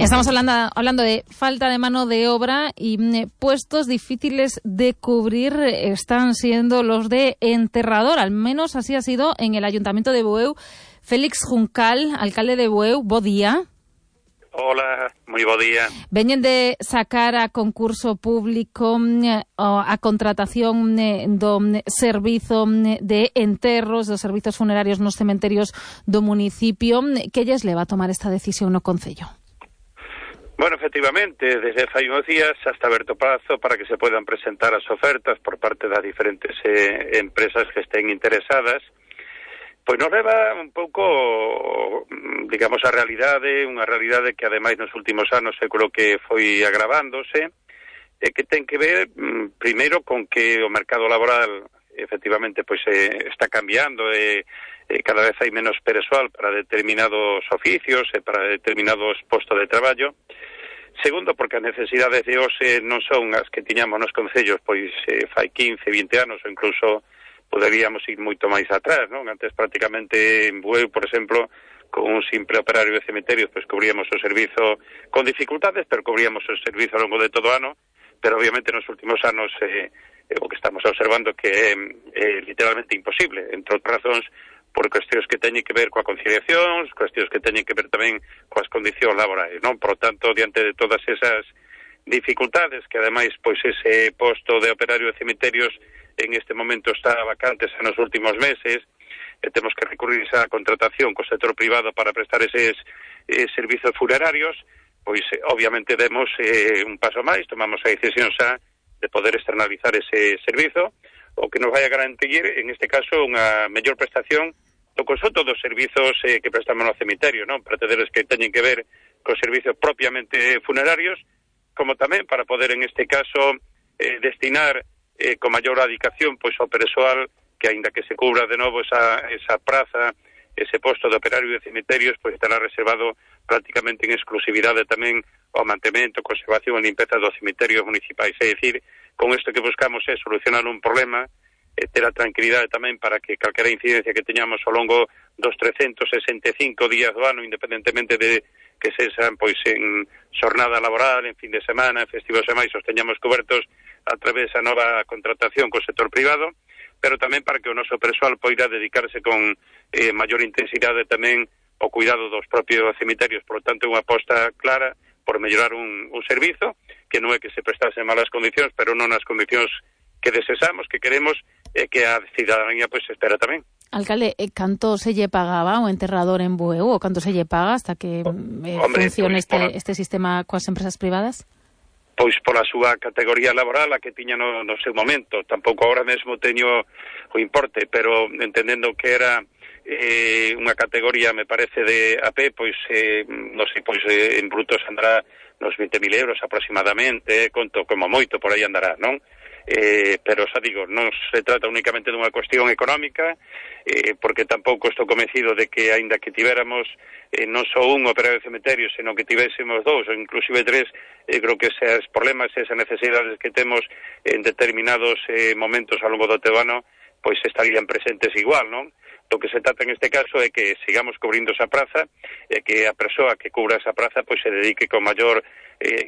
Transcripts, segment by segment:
Estamos hablando de falta de mano de obra y puestos difíciles de cubrir están siendo los de enterrador. Al menos así ha sido en el Ayuntamiento de Bueu. Félix Juncal, alcalde de Bueu, bo día. Hola, moi bo día. Veñen de sacar a concurso público a contratación do servizo de enterros, dos servizos funerarios nos cementerios do municipio. Que lles leva a tomar esta decisión no Concello? Bueno, efectivamente, desde fai uns días xa está aberto prazo para que se podan presentar as ofertas por parte das diferentes empresas que estén interesadas. Pois nos leva un pouco, digamos, a realidade, unha realidade que ademais nos últimos anos eu creo que foi agravándose, e que ten que ver, primeiro, con que o mercado laboral efectivamente pois está cambiando e cada vez hai menos persoal para determinados oficios e para determinados postos de traballo. Segundo, porque as necesidades de hoxe non son as que tiñamos nos concellos pois fai 15, 20 anos ou incluso poderíamos ir moito máis atrás, non? Antes prácticamente en Bueu, por exemplo, con un simple operario de cementerios, pois cubríamos o servizo con dificultades, pero cubríamos o servizo ao longo de todo o ano, pero obviamente nos últimos anos o que estamos observando que é literalmente imposible, entre outras razóns por cuestións que teñen que ver coa conciliación, cuestións que teñen que ver tamén coas condicións laborais, non? Por tanto, diante de todas esas dificultades, que ademais, pois ese posto de operario de cementerios en este momento está vacante en os últimos meses, temos que recurrir a contratación co sector privado para prestar eses servizos funerarios, pois obviamente demos un paso máis, tomamos a decisión xa de poder externalizar ese servizo, o que nos vai a garantir, en este caso, unha mellor prestación do conxunto dos servizos que prestamos no cemiterio, non? Para tederes que teñen que ver cos servizos propiamente funerarios, como tamén para poder, en este caso, destinar con maior dedicación pois ao persoal que, aínda que se cubra de novo esa praza, ese posto de operario de cemiterios, pois estará reservado prácticamente en exclusividade tamén ao mantemento, conservación e limpeza dos cemiterios municipais. É dicir, con isto que buscamos é solucionar un problema, ter a tranquilidade tamén para que calquera incidencia que teñamos ao longo dos 365 días do ano, independentemente de que sexan pois en xornada laboral, en fin de semana, en festivos e máis, os teñamos cobertos a través da nova contratación co sector privado, pero tamén para que o noso persoal poida dedicarse con maior intensidade tamén ao cuidado dos propios cemiterios. Por lo tanto, unha aposta clara por mellorar un servizo que non é que se prestase en malas condicións, pero non nas condicións que desexamos, que queremos, e que a cidadanía pois espera tamén. Alcalde, canto se lle pagaba o enterrador en Bueu, ou canto se lle paga hasta que funcione este sistema coas empresas privadas? Pois pola súa categoría laboral, a que tiña no seu momento. Tampouco agora mesmo teño o importe, pero entendendo que era unha categoría, me parece, de AP, pois, non sei, pois en brutos andará nos 20.000 euros aproximadamente, conto como moito, por aí andará, non? Pero xa digo, non se trata únicamente dunha cuestión económica, porque tampouco estou convencido de que, aínda que tivéramos non só un operario de cementerio, senón que tivésemos dous ou inclusive tres, creo que eses problemas, esas necesidades que temos en determinados momentos ao longo do teu ano, pois estarían presentes igual, non? Do que se trata en este caso é que sigamos cubrindo esa praza e que a persoa que cubra esa praza pois se dedique con maior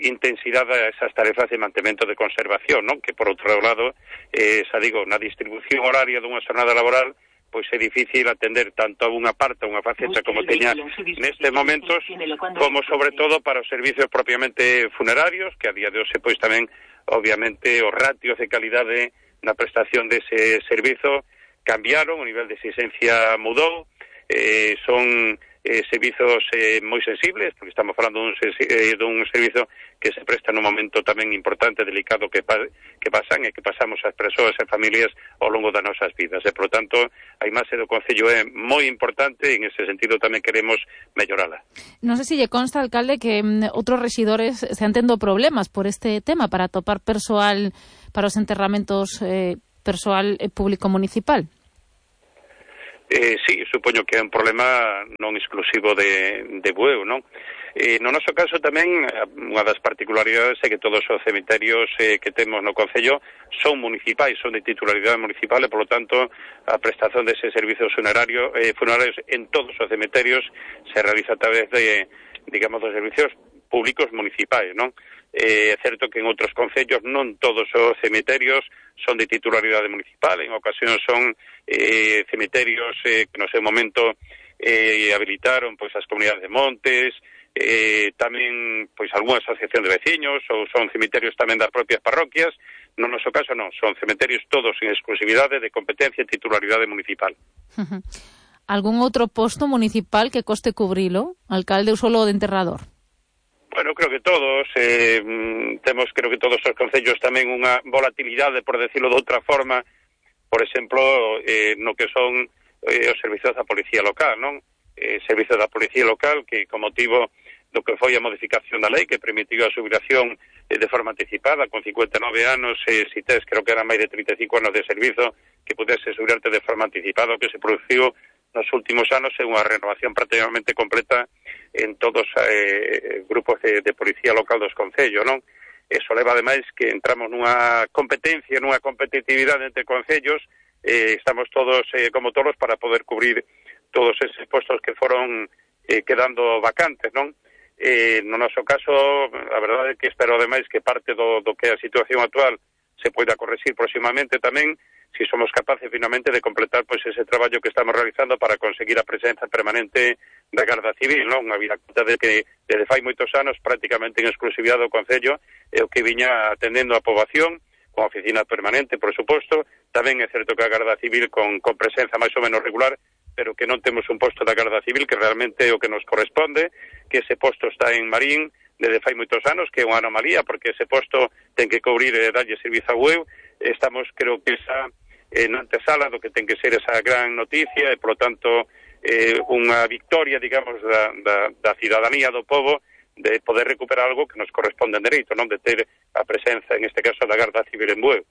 intensidade a esas tarefas de mantemento de conservación, non? Que por outro lado, xa digo, na distribución horaria dunha xornada laboral pois é difícil atender tanto a unha parte, a unha faceta como teña nestes momentos, como sobre todo para os servicios propiamente funerarios, que a día de hoxe pois tamén, obviamente, os ratios de calidade na prestación dese servizo cambiaron, o nivel de exigencia mudou, son servizos moi sensibles, porque estamos falando dun servizo que se presta nun momento tamén importante, delicado que pasan e que pasamos as persoas e familias ao longo das nosas vidas. E, por tanto, a imaxe do Concello é moi importante e en ese sentido tamén queremos mellorala. Non sei se lle consta, alcalde, que outros rexidores se han tendo problemas por este tema para atopar persoal para os enterramentos persoal público municipal. Sí, supoño que é un problema non exclusivo de Bueu, non? No noso caso tamén, unha das particularidades é que todos os cemiterios que temos no Concello son municipais, son de titularidade municipal e, polo tanto, a prestación dese servicios funerarios en todos os cemiterios se realiza a través de, digamos, dos servicios públicos municipais, non? É certo que en outros concellos non todos os cemiterios son de titularidade municipal, en ocasións son cemiterios que no seu momento habilitaron pois as comunidades de montes, tamén pois algunha asociación de veciños, ou son cemiterios tamén das propias parroquias. No noso caso non, son cementerios todos en exclusividade de competencia e titularidade municipal. Algún outro posto municipal que coste cubrilo, alcalde, ou solo de enterrador? Bueno, creo que todos, creo que todos os concellos tamén unha volatilidade, por decirlo de outra forma, por exemplo, no que son os servizos da Policía Local, non? Servizos da Policía Local que, con motivo do que foi a modificación da lei que permitiu a xubilación de forma anticipada, con 59 anos, si tes, creo que eran máis de 35 anos de servizo, que pudese xubilarte de forma anticipada, o que se produciu nos últimos anos é unha renovación prácticamente completa en todos os grupos de policía local dos concellos, non? Eso leva, ademais, que entramos nunha competencia, nunha competitividade entre concellos, estamos todos como todos para poder cubrir todos eses postos que foron quedando vacantes, non? No noso caso, a verdade é que espero, ademais, que parte do que é a situación actual se poida corregir próximamente tamén, si somos capaces finalmente de completar pois ese traballo que estamos realizando para conseguir a presenza permanente da Garda Civil, non? A vida conta de que desde fai moitos anos prácticamente en exclusividade do Concello é o que viña atendendo a poboación con oficina permanente, por suposto. Tamén é certo que a Garda Civil con presenza máis ou menos regular, pero que non temos un posto da Garda Civil que realmente é o que nos corresponde, que ese posto está en Marín desde fai moitos anos, que é unha anomalía, porque ese posto ten que cubrir e darlle servizo a UEU. Estamos, creo que esa na antesala do que ten que ser esa gran noticia e, polo tanto, unha victoria, digamos, da cidadanía do pobo de poder recuperar algo que nos corresponde en dereito, non? De ter a presenza, en este caso, da Garda Civil en Bueu.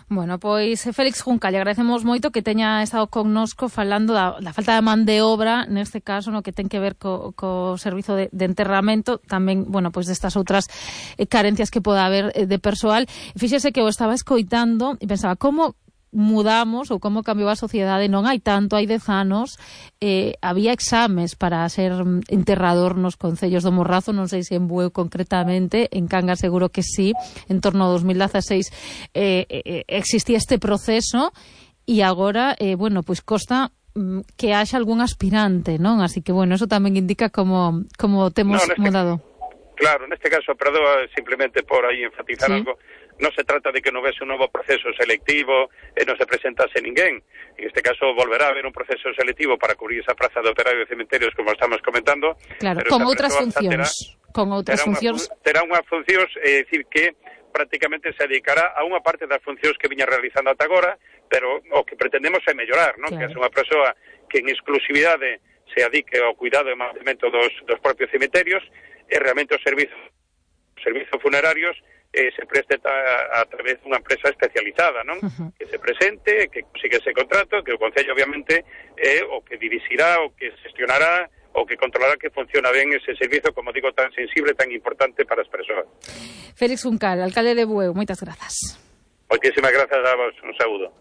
Bueno, pois Félix Juncal, lle agradecemos moito que teña estado connosco falando da falta de man de obra, neste caso, no que ten que ver co servizo de enterramento, tamén, bueno, pois destas outras carencias que poda haber de persoal. Fíxese que o estaba escoitando e pensaba, como mudamos ou como cambiou a sociedade? Non hai tanto, hai 10 anos había exames para ser enterrador nos concellos do Morrazo, non sei se en Bueu concretamente, en Cangas seguro que sí, en torno ao 2016 existía este proceso e agora, bueno, pois costa que haxa algún aspirante, non? Así que, bueno, eso tamén indica como temos mudado. Claro, neste caso, perdoa simplemente por aí enfatizar algo. Non se trata de que non vese un novo proceso selectivo e non se presentase ninguén. En este caso volverá a haber un proceso selectivo para cubrir esa praza de operario de cementerios, como estamos comentando. Claro, con outras funcións. Terá unhas funcións, é dicir que prácticamente se dedicará a unha parte das funcións que viña realizando ata agora, pero o que pretendemos é mellorar, non? Claro. Que é unha persoa que en exclusividade se adique ao cuidado e mantemento dos propios cementerios e realmente os servizos funerarios se preste a través dunha empresa especializada, non? Que se presente, que consiga ese contrato, que o Concello obviamente é o que dirixirá, o que gestionará, o que controlará que funciona ben ese servizo, como digo, tan sensible, tan importante para as persoas. Félix Juncal, alcalde de Bueu, moitas grazas. Moitísimas grazas a vos, un saúdo.